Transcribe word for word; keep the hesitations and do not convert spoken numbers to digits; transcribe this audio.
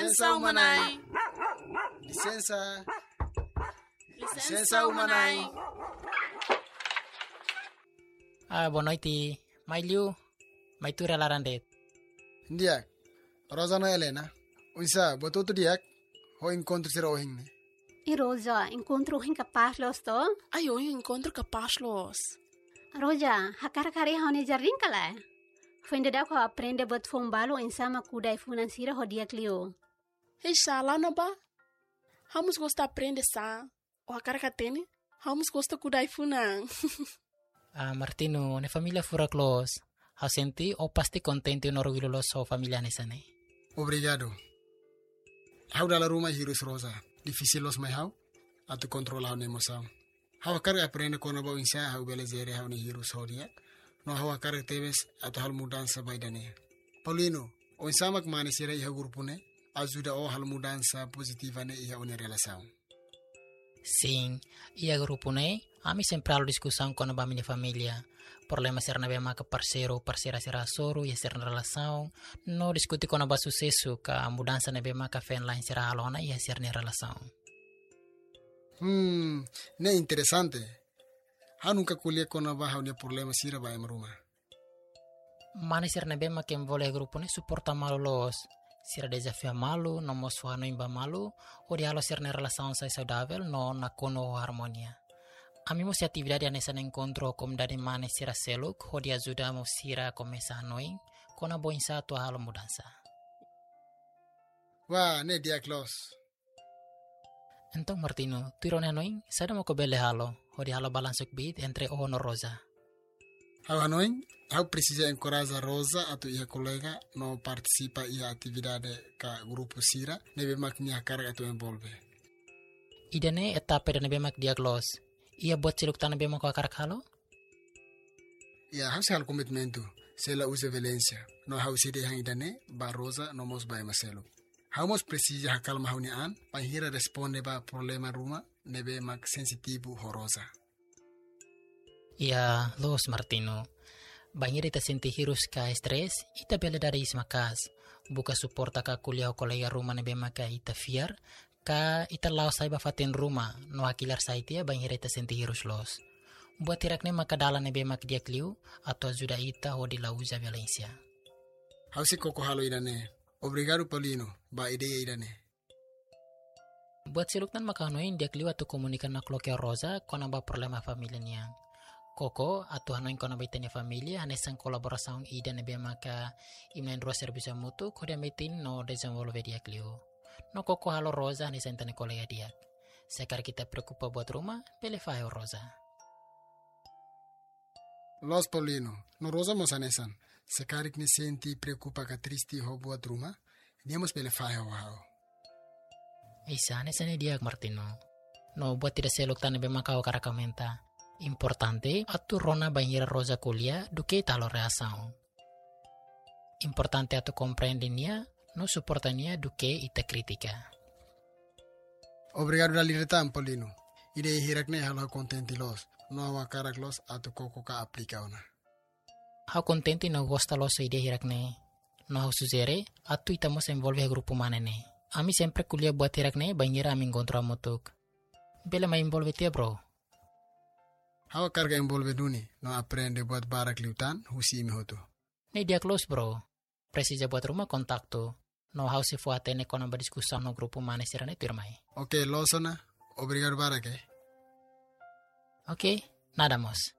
Lisensa, uma-na'in. Lisensa. Lisensa, uma-na'in. Ah, boa noite. Mai liu, mai tuur iha laran de'it. Di'ak, Rosa no Helena. Oinsá, buat hotu di'ak ho enkontru sira ohin ne'e? I Rosa, enkontru ohin kapás loos to? Ai, ohin enkontru kapás loos. Rosa, hakarak haree ha'u-nia jardín ka lae? Foin daudauk ha'u aprende buat foun balu oinsá mak kuda ai-funan sira ho di'ak liu. Hei, sala na ba. Ha'u mós gosta aprende sá. Ó hakarak hatene, ha'u mós gosta kuda ai-funan. Ah, Martino, ó-nia família furak loos. Ha'u sente ó pasti kontente no orgullu loos ho família hanesan ne'e. Obrigadu. Ha'u dala ruma hirus Rosa. Difisil loos mai ha'u atu kontrola ha'u-nia emosaun. Ha'u hakarak aprende kona-ba oinsá ha'u bele jere ha'u-nia hirus ho di'ak. No ha'u hakarak tebes atu halo mudansa ba ida-ne'e. Paulino, oinsá mak mane sira iha grupu ne'e ajuda ó halo mudansa pozitiva ne'e iha ó-nia relasaun? Sin, iha grupu ne'e, ami sempre halo diskusaun kona-ba ami-nia família. Problema sira ne'ebé maka parseiru, parseira sira hasoru iha sira-nia relasaun, no diskute kona-ba susesu ka mudansa ne'ebé maka feen-la'en sira halo ona iha sira-nia relasaun. Hmm, ne'e interesante. Ha'u nunka ko'alia kona-ba ha'u-nia problema sira ba ema ruma. Mane sira ne'ebé mak envolve iha grupu ne'e suporta malu loos. Sira dezafia malu, no mós fó hanoin ba malu, hodi halo sira-nia relasaun sai saudavel, no nakonu ho armonia. Ami mós iha atividade hanesan enkontru ho komunidade mane sira seluk, hodi ajuda mós sira komesa hanoin, kona-ba oinsá atu halo mudansa. Wah, ne'e di'ak loos. Entaun Martino, tuir ó-nia hanoin, saida mak ó bele halo, hodi halo balansu kbiit entre ó no Rosa? Ha'u hanoin, ha'u presiza enkoraja Rosa atu iha kolega no partisipa iha atividade ka grupu sira ne'ebé mak nia hakarak atu envolve. Ida-ne'e etapa ida ne'ebé mak di'ak loos. Iha buat seluk tan ne'ebé mak ó hakarak halo? Ya, ha'u sei halo komitmentu, sei la uza violénsia. No ha'u sei dehan ida-ne'e ba Rosa no mós ba ema seluk. Ha'u mós presiza hakalma ha'u-nia an, bainhira responde ba problema ruma ne'ebé mak sensitivu ho Rosa. Ya, loos Martino. Bainhira ita sente hirus ka estrés, ita bele dada iis maka'as. Buka suporta ka ko'alia ho kolega ruma ne'ebé maka ita fiar, ka ita la'o sai ba fatin ruma, no hakilar sai tiha bainhira ita sente hirus loos. Buat hirak-ne'e maka dalan ne'ebé mak di'ak liu, atu ajuda ita hodi la uza violénsia. Ha'u sei koko halo ida-ne'e. Obrigadu Paulino, ba ideia ida-ne'e. Buat seluk tan maka hanoin di'ak liu atu komunika nakloke ho Rosa kona-ba problema família nian. Koko atu hanoin kona-ba ita-nia família hanesan kolaborasaun ida ne'ebé maka imi na'in-rua servisu hamutuk hodi hametin no dezenvolve di'ak liu. No koko halo Rosa hanesan ita-nia kolega di'ak. Se karik ita preokupa buat ruma, bele fahe ho Rosa. Loos Paulino, no Rosa mós hanesan. Se karik nia sente preokupa ka triste ho buat ruma, nia mós bele fahe ho ha'u. Isa, hanesan ne'e di'ak Martino. No buat ida seluk tan ne'ebé maka ha'u hakarak aumenta. Importante atu rona bainhira Rosa ko'alia duké ita halo reasaun. Importante atu komprende nia, no suporta nia duké ita kritika. Obrigadu dala ida tan Paulino. Ideia hirak-ne'e halo ha'u kontente loos. No ha'u hakarak loos atu koko ka aplika ona. Ha'u kontente no gosta loos ho ideia hirak-ne'e. No ha'u sujere, atu ita mós envolve iha grupu mane ne'e. Ami sempre ko'alia buat hirak-ne'e bainhira ami enkontru hamutuk. Bele mai envolve tiha, bro. Ha'u hakarak envolve duni, no aprende buat barak liután husi imi hotu. Ne'e di'ak loos, bro. Presiza buat ruma kontaktu. No ha'u sei fó hatene kona-ba diskusaun no grupu mane sira-ne'e tuirmai. Oke, loos ona. Obrigadu barak, eh. Oke, nada mós.